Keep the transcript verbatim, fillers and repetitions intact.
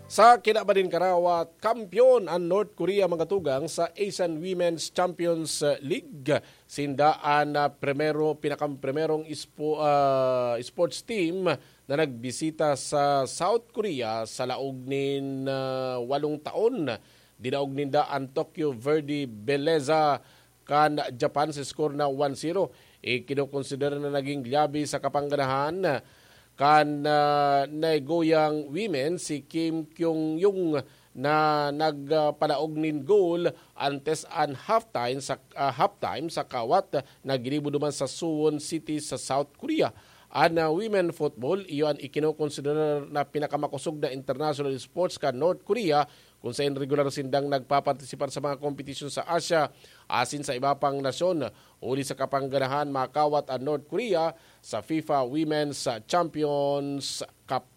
Sa kinabaning karawat, kampiyon an North Korea, mga tugang, sa Asian Women's Champions League. Sinda an ah, primero, pinakang primerong ispo, ah, sports team na nagbisita sa South Korea sa laog nin ah, walong taon. Dinaog ninda an Tokyo Verde Belleza kan Japan sa score na one zero. Ikinokonsidera na naging liyabi sa kapangganahan kan ah, Nagoyang women si Kim Kyung-yung na nagpalaog nin goal antes an halftime sa ah, halftime sa kawat na ginibo duman sa Suwon City sa South Korea. An ah, women football, iyo an ikinokonsidera na pinakamakosog na international sports kan North Korea, kung saen regular sindang nagpapartisipar sa mga kompetisyon sa Asia asin sa iba pang nasyon. Huli sa kapangganahan, makawat an North Korea sa FIFA Women's Champions Cup.